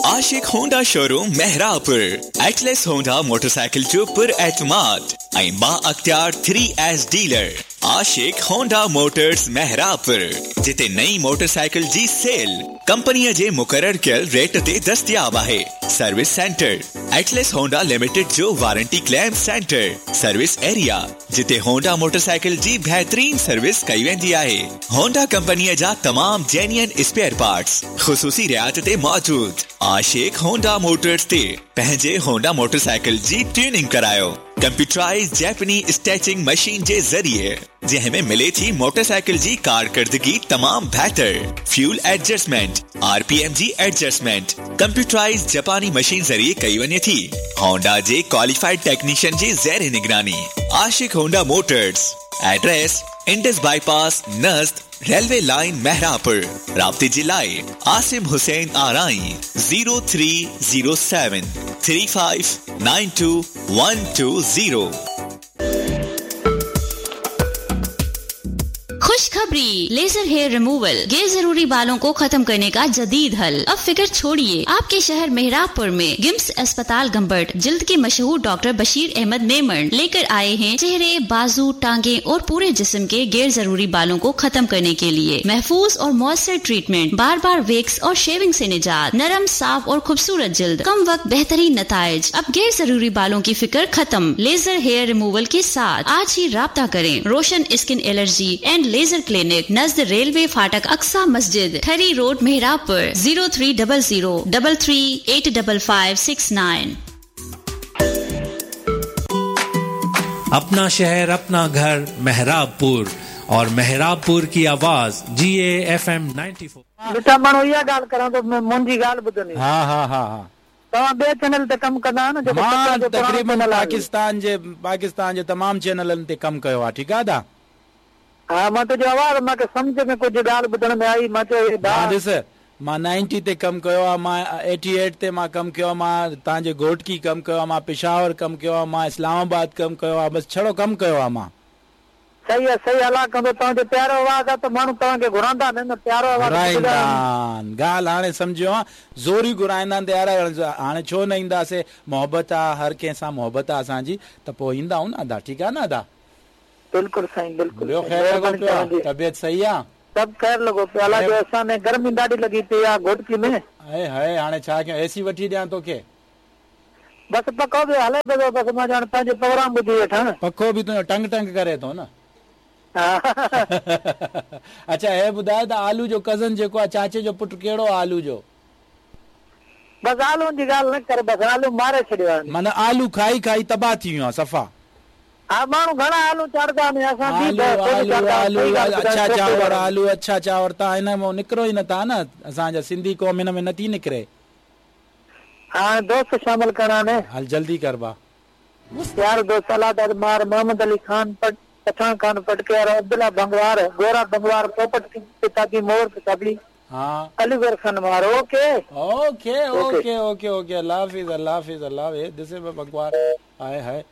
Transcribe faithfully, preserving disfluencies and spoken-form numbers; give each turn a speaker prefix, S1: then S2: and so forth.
S1: Ashiq Honda showroom Mehrabpur, Atlas Honda motorcycle जो पुर एतमाद ऐं बाअख्तियार three S dealer. Ashiq Honda Motors Mehrabpur, जिते नई मोटरसाइकिल जी सेल कंपनीअ जे मुक़ररु कयल रेट ते दस्तियाब आहे। Service centre, Atlas Honda limited जो warranty claim centre, service area, जिते होंडा मोटरसाइकिल जी बहितरीन सर्विस कई वेंदी आहे। होंडा कंपनीअ जा तमाम जेन्युइन स्पेयर पार्ट्स ख़ुसूसी रियायत ते मौजूद। आशिक होंडा मोटर्स ते पंहिंजे होंडा मोटरसाइकिल जी ट्यूनिंग करायो कंप्यूटराइज जैपनी स्टैचिंग मशीन जे ज़रिए, जंहिं में मिले थी मोटरसाइकिल जी कारकर्दगी तमाम बहितर। फ्यूल एडजस्टमेंट, आरपीएम जी एडजस्टमेंट कंप्यूटराइज जापानी मशीन ज़रिए कई वञे थी। होंडा जे क्वालिफाइड टेक्नीशियन जी ज़ेर निगरानी। Ashiq Honda Motors, address Indus bypass नज़द रेलवे लाइन मेहराबपुर। राब्ते जे लाइ Asim Hussain Arai zero three zero seven three five nine two one two zero.
S2: खुशखबरी, लेजर हेयर रिमूवल, गैर जरूरी बालों को खत्म करने का जदीद हल। अब फिक्र छोड़िए, आपके शहर मेहराबपुर में गिम्स अस्पताल गंबट जिल्द के मशहूर डॉक्टर बशीर अहमद मेमन लेकर आए हैं चेहरे, बाजू, टांगे और पूरे जिस्म के गैर जरूरी बालों को खत्म करने के लिए महफूज और मौसर ट्रीटमेंट, बार बार वेक्स और शेविंग से निजात, नरम, साफ और खूबसूरत जिल्द, कम वक्त बेहतरीन नताइज। अब गैर जरूरी बालों की फिक्र खत्म, लेजर हेयर रिमूवल के साथ आज ही राब्ता करें। Roshan skin allergy and laser clinic, नज़द रेलवे फाटक Aqsa Masjid, Thari road, Mehrabpur, zero three double zero double three eight double five six nine.
S3: अपना शहर अपना घर मेहराबपुर और मेहराबपुर की आवाज G A F M ninety four.
S4: मिठा माण्हू इहा ॻाल्हि करां थो, मुंहिंजी ॻाल्हि ॿुधनि।
S5: हा हा हा हा,
S4: तव्हां ॿिए चैनल ते कमु कंदा आहियो न? जेको
S5: मां
S4: पुराणो
S5: तक़रीबन
S4: चैनल आहे।
S5: पाकिस्तान जे पाकिस्तान जे तमाम चैनलनि ते कमु कयो आहे। ठीकु आहे दा?
S4: हा, मां तुंहिंजो आवाज़ मूंखे सम्झ में कुझु ॻाल्हि ॿुधण में आई, मां चयो हे
S5: मां ॾिस, मां नाइंटी ते कमु कयो आहे, मां एटी एट ते मां कमु कयो आहे, मां तव्हांजे घोटकी कमु कयो आहे, मां पेशावर कमु कयो आहे, मां इस्लामाबाद कमु कयो आहे, बसि छड़ो कमु कयो आहे मां।
S4: सही आहे, सही आहे, अलाह कंदो तव्हांजो प्यारो आवाज़ आहे त माण्हू तव्हांखे घुराईंदा न, प्यारो आवाज़
S5: घुराईंदा आहिनि। ॻाल्हि हाणे सम्झो आहे, ज़ोरी घुराईंदा आहिनि त यार हाणे छो न ईंदासीं, मोहबत आहे, हर कंहिंसां मोहबत आहे असांजी, त पोइ ईंदा आहियूं न अदा। ठीकु आहे न अदा?
S4: बिल्कुलु साईं, बिल्कुलु।
S5: ॿियो ख़ैर लॻो पियो आहे? तबियत सही आहे?
S4: सभु ख़ैर लॻो पियो, अलाह जो एहसान आहे। गर्मी ॾाढी लॻी पई आहे घोटकी में।
S5: हाय हाय, हाणे छा कयूं, एसी वठी ॾियां तोखे?
S4: बसि पखो बि हले पियो, बसि मां ॼण पंहिंजो प्रोग्राम ॿुधी वेठा।
S5: पखो बि तुंहिंजो टंग टंग करे थो न। अच्छा हे ॿुधाए त आलू जो कज़न जेको आहे, चाचे जो पुटु कहिड़ो आहे आलू जो?
S4: बसि आलू जी ॻाल्हि न कर, बसि आलू मारे छॾियो आहे।
S5: माना आलू खाई खाई तबाह थी वियो आहे सफ़ा।
S4: हा, माण्हू घणा आलू चाढ़ंदा आहिनि, असां बि
S5: आलू
S4: कोन
S5: आलू
S4: चाढ़ंदा
S5: आलू
S4: आहियूं, सही ॻाल्हि
S5: अच्छा
S4: ॿुधायो,
S5: चांवर आलू, अच्छा चांवर, तव्हां हिन मां निकिरो ई नथा न, असांजा सिंधी क़ौम हिन में नथी निकिरे।
S4: हाणे दोस्त शामिल करणा आहिनि।
S5: हल जल्दी कर बा।
S4: प्यारो दोस्त अलाह दाद मार, मोहम्मद अली खान पट, पठान खान पटकेर, अब्दुल्ला बंगवार, गोरा बंगवार, पोपट पिताबी, मोर पिताबी,
S5: हाँ,
S4: अलीगर खान मार। Okay
S5: okay okay okay okay, अल्लाह हाफिज, अल्लाह हाफिज, अल्लाह हाफिज। दिसे बंगवार आए हाय।